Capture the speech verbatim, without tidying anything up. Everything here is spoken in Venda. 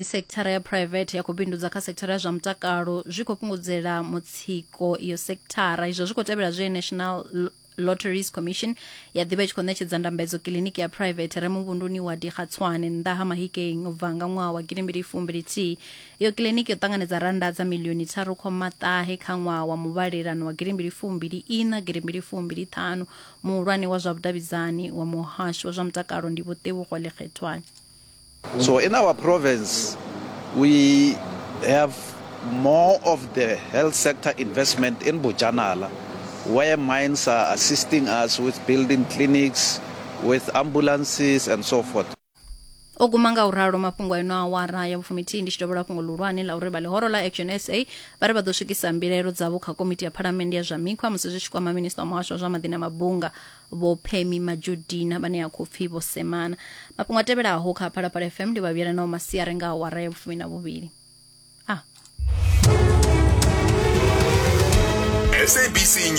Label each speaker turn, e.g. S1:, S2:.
S1: Sekithara ya phuraivethe ya khou bindudza kha sekithara ya zwa mutakalo zwi khou fhungudzela mutsiko iyo sekithara. Izwo zwi khou tevhela zwe National Lotteries Commission ya ḓivha i tshi khou ṋetshedza ndambedzo kiḽiniki ya phuraivethe re muvhunduni wa Digatswane nnḓa ha Mahikeng u bva nga ṅwaha wa gidimbili fumbili thihi. Iyo kiḽiniki yo ṱanganedza rannda dza miḽioni tharu khoma ṱahe kha ṅwaha wa muvhalelano wa gidimbili fumbili ina gidimbili fumbili ṱhanu. Muhulwane wa zwa vhudavhidzani wa muhasho wa zwa mutakalo ndi Vho Tebogo Lekgethwane.
S2: So in our province, we have more of the health sector investment in Bojanala, where mines are assisting us with building clinics, with ambulances and so forth.
S1: O guma nga u ralo mafhungo a ino awara ya vhufumithihi. Ndi tshi dovholola fhungo ḽihulwane ḽa uri vha ḽihoro ḽa Action S A vha ri vha ḓo swikisa mbilaelo dzavho kha komiti ya phalamennde ya zwa mikhwa musi zwi tshi kwama minista wa muhasho wa zwa maḓi na mabunga Vho Pemmy Majodina vhane ya khou pfi Vho Semana. Mafhungo a tevhelaho kha Phalaphala F M ndi vha vhuyela nao masiari nga awara ya vhufumi na vhuvhili. Ah.
S3: S A B C News.